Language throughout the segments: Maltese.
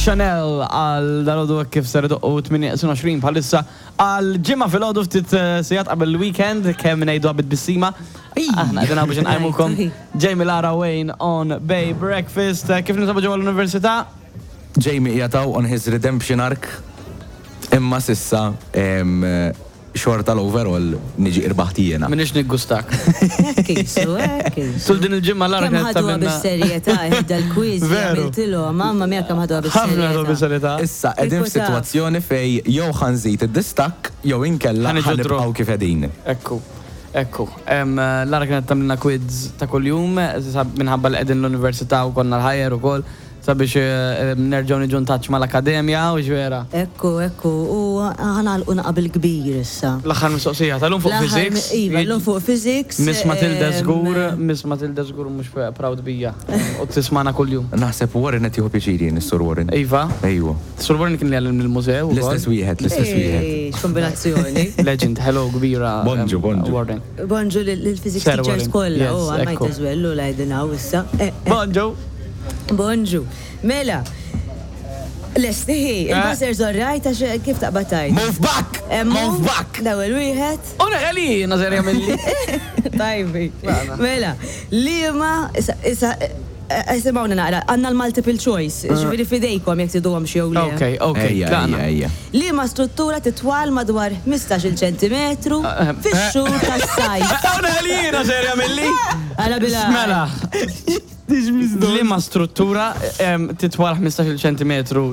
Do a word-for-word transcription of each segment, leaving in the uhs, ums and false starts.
Chanel għal dalgħodu kif ser idoqqu tmienja u għoxrin bħalissa għal ġimgħa filgħodu, ftit eh, sigħat qabel il-weekend, kemm ngħidu għabid bissima. Aħna qegħdin biex nqajmukom, Jamie, Lara, Wayne on Bay Breakfast. Eh, Kif ninsabu ġewwa l-università? Jamie jataw on his redemption arc, imma s'issa em, xorta l-overall niġi irbaħt jiena. Minix niggustak. Hekk isu, hekk isu. Tul din il-ġimgħa Lara Kemm kienet ħaduha tagħmilna- bis-serjetà dal-quiz li Veru. għamiltilhom, mamma mia, kemm ħaduha Ħafna ħadu bis-serjetà. bis-serjetà. Issa qegħdin Kieku taf. f'sitwazzjoni fej jew ħa nżid id-distakk jew inkella Ħa niġu draw. ħa nibqgħu kif qegħdin. Ekku, ekku. Em, Lara kienet tagħmilna quiz ta' kuljum, sab- minħabba li qegħdin l-università u konna l-ħajer ukoll, sabiex eh, nerġgħu niġu in touch mal-akademja u ġvera. Ekku, ekku, u ħa nagħlqu naqbel kbir issa. L-aħħar mistoqsija tal-lum fuq L-aħħar physics. mi- Iva, l-lum fuq physics. Miss Matilda em, żgur, Miss Matilda żgur mhux proud bija. U tismana kuljum. Naħseb Warren qed jieħu pjaċiri, Sur Warren. Iva, Ejwa. Sur Warren kien li għallim il-mużew ukoll. L-istess wieħed, l-istess wieħed. Ej, x'kombinazzjoni. Legend, hello kbira. Bonġu, em, bonġu. Warren. Bonġu lill-physics Sir teachers Warren. kollha, Yes, u għamajt ekku. eżwellu lajdinaw issa. Eh, eh. Bonġu. Bonġu. Mela, lesti, il-buzzer zorrajt għax kif taqbad tajt? Move back! Move back! L-ewwel wieħed. U neħeli, nazar jamilli. Tajbi. Mela, liema, issa, issa, isimgħuni naqra, għandna l-multiple choice, ġifieri fidejkom jekk triduhom xi jew le. Ok, ok, Ejja, tlaqna. ejja, ejja. Liema struttura titwal madwar ħmistax-il ċentimetru Eh, fix-xhur tas-sajf? U neħeli, nazar jamilli. Għala bila. Mela. Liema struttura em, titwal ħmistax-il ċentimetru?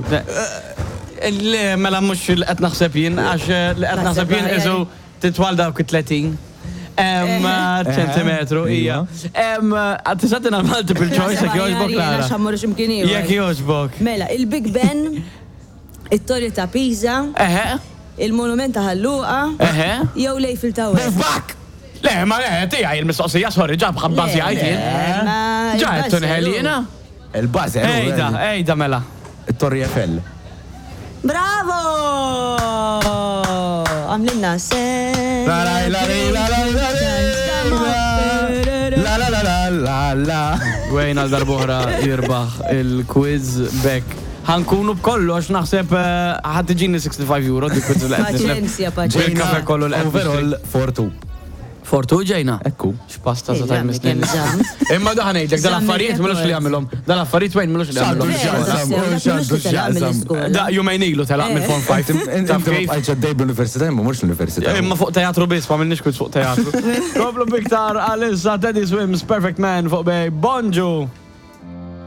Le, mela mhux li qed naħseb jien, għax eh, li qed naħseb jien isu titwal dawk it-tletin. Em, ċentimetru, ija. Em, Tista' ttina multiple choice, jekk jogħġbok, Lara. Xammur ximkien ieħor. Jekk jogħġbok. Mela, il-Big Ben, it-Torri ta' Pisa, Eħe, il-Monument ta' Ħal Luqa, eħe. jew l-Eiffel Tower. Move back! Le, ma le, tiegħi il-mistoqsija, sorry, ġab ħabbażi għajt jien. Ma Ġa, il-buzzer, tunħel jiena? Il-buzzer. Ejda, ejda mela. Il-Torri Eiffel. Bravo! Għamlilna se. La la la la la la la la la la la la la. Wayne għal darb'oħra jirbaħ il-quiz bekk. Ħa nkunu b'kollox naħseb eh, ħa tiġini sittin euro dik quiz li qed nislef. Paċenzja, paċenzja. Bil-kafe kollu li qed Overall four two. Fortu ġejna. Ekku. X'pasta sa Ej, tajt għammi misnin. kemm żamm. Imma daħ ngħidlek dal-affarijiet Żamm m'ilux li il-record. jagħmilhom. Dal-affarijiet Wayne m'ilux li jagħmilhom. X'għandu x'jaqsam, x'għandu x'jaqsam. Da jumejn ilu telaq mill-Form five. Taf Inti kif? bqajt ġaddej bl-università, imma mhux l-università. Imma fuq teatru biss, ma minnix quiz fuq teatru. Komplu biktar għalissa Teddy Swims, Perfect Man fuq Bay. Bonġu!